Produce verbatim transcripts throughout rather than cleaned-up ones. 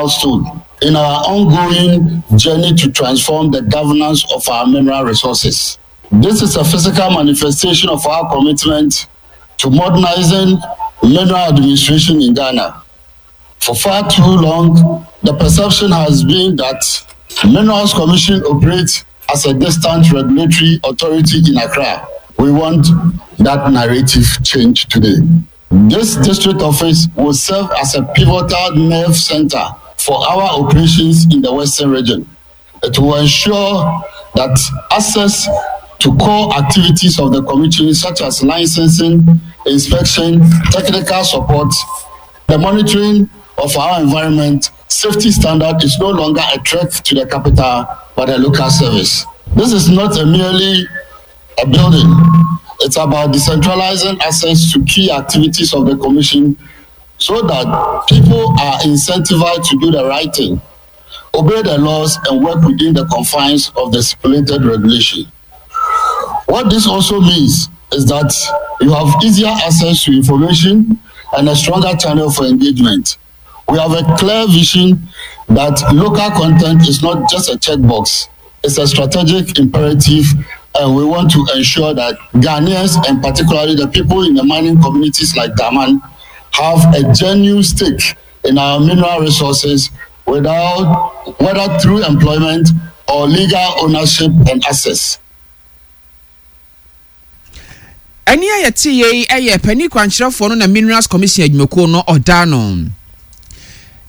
milestone in our ongoing journey to transform the governance of our mineral resources. This is a physical manifestation of our commitment to modernizing mineral administration in Ghana. For far too long, the perception has been that Minerals Commission operates as a distant regulatory authority in Accra. We want that narrative change today. This district office will serve as a pivotal nerve center for our operations in the Western region. It will ensure that access to core activities of the commission, such as licensing, inspection, technical support, the monitoring of our environment, safety standard is no longer a threat to the capital, but a local service. This is not a merely a building. It's about decentralizing access to key activities of the commission so that people are incentivized to do the right thing, obey the laws, and work within the confines of the stipulated regulation. What this also means is that you have easier access to information and a stronger channel for engagement. We have a clear vision that local content is not just a checkbox, it's a strategic imperative, and we want to ensure that Ghanaians, and particularly the people in the mining communities like Daman, have a genuine stake in our mineral resources without, whether through employment or legal ownership and access. Ɛne a yɛte yei yɛ panin kwankyerɛfoɔ no na Minerals Commission adwumakuo no ɔda no.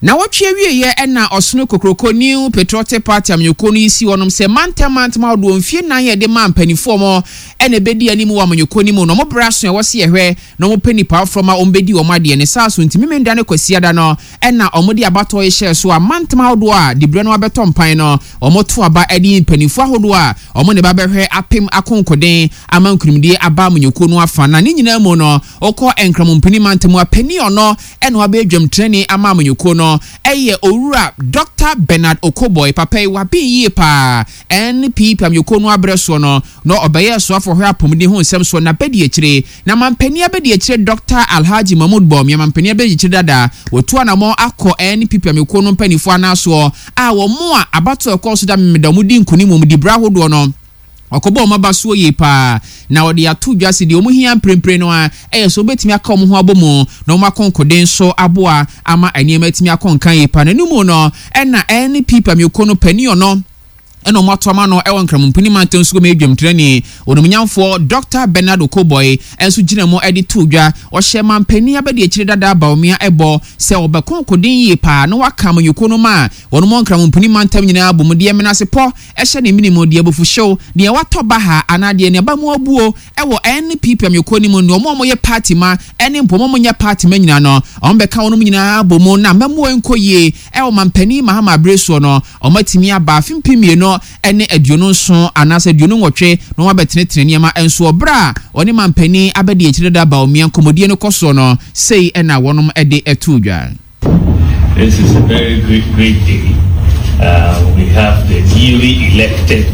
Na wɔtwe awieeɛ ɛna Ɔsono Kokroko New Patriotic Party amanyɔkuo no yi si hɔnom sɛ mantam mantam ahodoɔ mfie nnan yɛde ma mpanimfoɔ mɔ ɛna ɛbɛdi anim wɔ amanyɔkuo no mu na wɔn brɛ aso a ɛwɔ se yɛhwɛ na wɔn pɛ nipa aforɔ ma wɔn bɛdi wɔn adeɛ ne saa so. Nti Memenda ne Kwasiada no ɛna wɔn de abatoɔ yi hyɛɛ so a mantam ahodoɔ a dibrɛ no abɛtɔ mpan no wɔn to aba ɛde mpanimfoɔ ahodoɔ a wɔn ne ba bɛhwɛ apem akonkoden ama nkunimdie aba amanyɔkuo no afa. Na ne nyinaa mu no, ɔkɔ Nkramompini mantam a panin ɔno ɛna wabɛyɛ dwamtenani ama amanyɔkuo no ɛyɛ Owura Doctor Bernard Okoboy. Papa yi waben yie paa. N P P amanyɔkuo no abrɛ soɔ no na ɔbɛyɛ soafoɔ hwɛ apɔmuden ho nsɛm soɔ na bɛdi akyire na mampanin abɛdi akyire Doctor Alhaji Mahmood Bawumia, mampanin abɛdi akyire dada, wɔtu anammɔn akɔ N P P amanyɔkuo no mpanimfoɔ anasoɔ a wɔn a abatoɔ ɛkɔɔ so da Memeda wɔn di nkunim wɔn di berɛ ahodoɔ no, ɔkɔbɔ wɔn aba soɔ yie paa na wɔde ato dwa si deɛ wɔn hia mprempren no a ɛyɛ so wɔbɛtumi aka wɔn ho abɔ mu na wɔn akɔnkoden so aboa ama nneɛma atumi akɔ nkan yie paa. N'anim no ɛna N P P amanyɔkuo no panin ɔno ɛna ɔmo ato ama no ɛwɔ Nkramompini mantam nso kɔmɛ edwamtirani onumnyamfoɔ Doctor Bernard Okoboy ɛnso gyina mu ɛde to dwa. Ɔhyɛ mampanin abɛdi akyire dada Bawumia ɛbɔ sɛ ɔbɛko nkoden yie paa na waka amanyɔkuo no ma a wɔn mo Nkramompini mantam nyinaa bɔ mu deɛ menasepɔ ɛhyɛ ne minimu deɛ abufuhyew deɛ watɔ ba ha anaa deɛ nneɛma mu abuo ɛwɔ N P P amanyɔkuo no mu ne ɔmo a wɔyɛ party ma ɛne mpɔ ɔmo nyɛ party ma nyinaa no, ɔmo bɛka wɔn nyinaa bɔ mu na mɛmoa nkɔ yie ɛwɔ mampanin Mahama abere soɔ no, ɔmo atumi aba afe mpem mmienu ɛne aduonu nson anaasɛ aduonu nwɔtwe na wɔn abɛtenetene nneɛma nso. Ɔbrɛ a ɔne mampanin abɛdi akyire dada Bawumia nkɔmmɔdie no kɔ soɔ no, sei ɛna wɔnom ɛde ɛto dwa. This is a very great, great day. Uh, we have the newly elected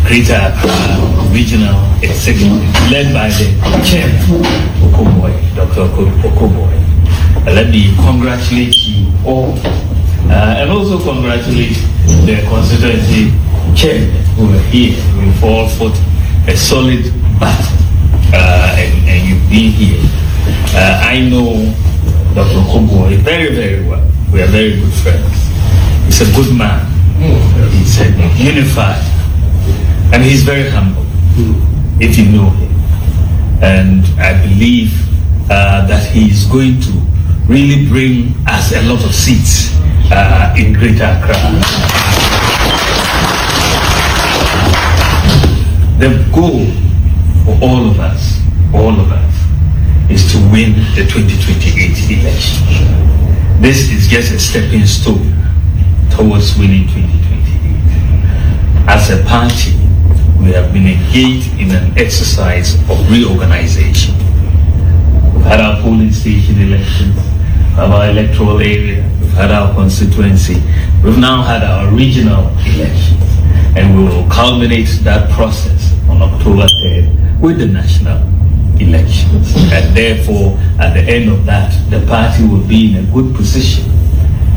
Greater Accra Regional Executive, led by the chairman, Okoboy, Doctor Okoboy. Uh, let me congratulate you all uh, and also congratulate the constituency chairmen who are here. We've all fought a solid battle uh, and, and you've been here. Uh, I know Doctor Okoboy very, very well. We are very good friends. He's a good man. He's a unified. And he's very humble, if you know him. And I believe uh, that he is going to really bring us a lot of seats uh, in Greater Accra. The goal for all of us, all of us, is to win the twenty twenty-eight election. This is just a stepping stone towards winning twenty twenty-eight. As a party, we have been engaged in an exercise of reorganization. We've had our polling station elections, we've had our electoral area, we've had our constituency, we've now had our regional elections, and we will culminate that process on October third with the national elections. And therefore, at the end of that, the party will be in a good position.